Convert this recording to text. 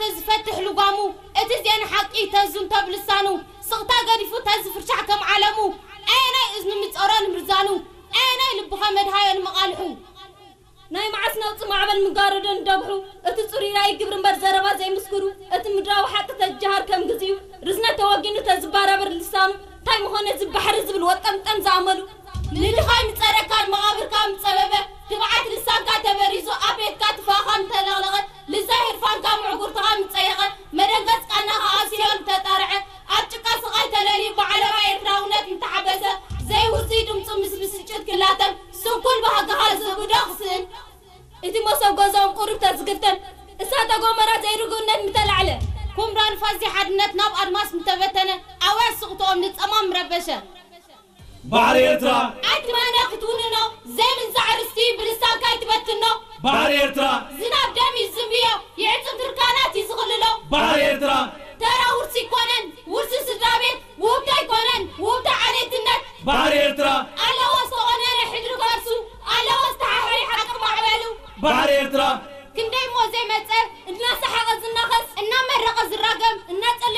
ተዝፈትሕ ልጓሙ፣ እቲ ዜና ሓቂ ተዝንተብ ልሳኑ፣ ስቕታ ገዲፉ ተዝፍርሻሕ ከም ዓለሙ፣ ኣየናይ እዝኑ ምጸሮ ንምርዛኑ፣ ኣየናይ ልብኸ መድሃዮ ንመቓልሑ። ናይ መዓስ ነውጺ ማዕበል ምጋረዶ ንደብሑ፣ እቲ ጽሩይ ራእይ ግብሪ እምበር ዘረባ ዘይምስክሩ፣ እቲ ምድራዊ ሓቂ ተዝጀሃር ከም ግዚኡ፣ ርዝነት ተወጊኑ ተዝባራበር ልሳኑ፣ እንታይ ምኾነ እዚ ባሕሪ ዝብል ወጠምጠም ዝኣመሉ። ንድኻ ምጸረካ ንመቓብርካ ምጸበበ፣ ትብዓት ልሳንካ ተበሪዙ ኣብ ቤትካ ትፋኻ ምተለቕለቐ፣ ልዛይ ህርፋንካ ምዕጉርትኻ ምጸየቐ፣ መደንገጽ ቃናኻ ኣብ ሲኦል ምተጣርዐ፣ ኣብ ጭቃ ስቓይ ተለልዩ ብዓለባ ኤርትራውነት ምተሓበሰ፣ ዘይውጽይ ድምጹ ምስ ብስጭት ክላተም፣ ስንኩል ባህግኻ ዝህብዶ ክስእን። እቲ መሶብ ገዛኦም ቁሩብ ተዝግፍተን፣ እሳተ ጎመራ ዘይርግኡነት ምተላዕለ። ኩምራ ንፋስ ዘይሓድነት ናብ ኣድማስ ምተበተነ፣ ኣውያት ስቕትኦም ንጸማም ምረበሸ። ባሕሪ ኤርትራ ኣይትመነ ክትውንኖ፣ ዘይምንዛዕ ርስቲ ብልሳንካ ኣይትበትኖ። ባሕሪ ኤርትራ ዝናብ ደም እዩ ዝዝንብዮ፣ የዕጽም ትርካናት እዩ ዝኽልሎ። ባሕሪ ኤርትራ ተራ ውርሲ ኣይኮነን፣ ውርሲ ስድራ ቤት፣ ውህብቶ ኣይኮነን፣ ውህብቶ ዓሌትነት። ባሕሪ ኤርትራ ኣለዎ ዝተቖነነ ሕድሪ ከርሱ፣ ኣለዎ ዝተሓሕሪ ሓቂ ማዕበሉ። ባሕሪ ኤርትራ ክንደይ እሞ ዘይመጸ፣ እናሰሓቐ ዝናኸስ፣ እናመረቐ ዝራገም፣ እናጸለ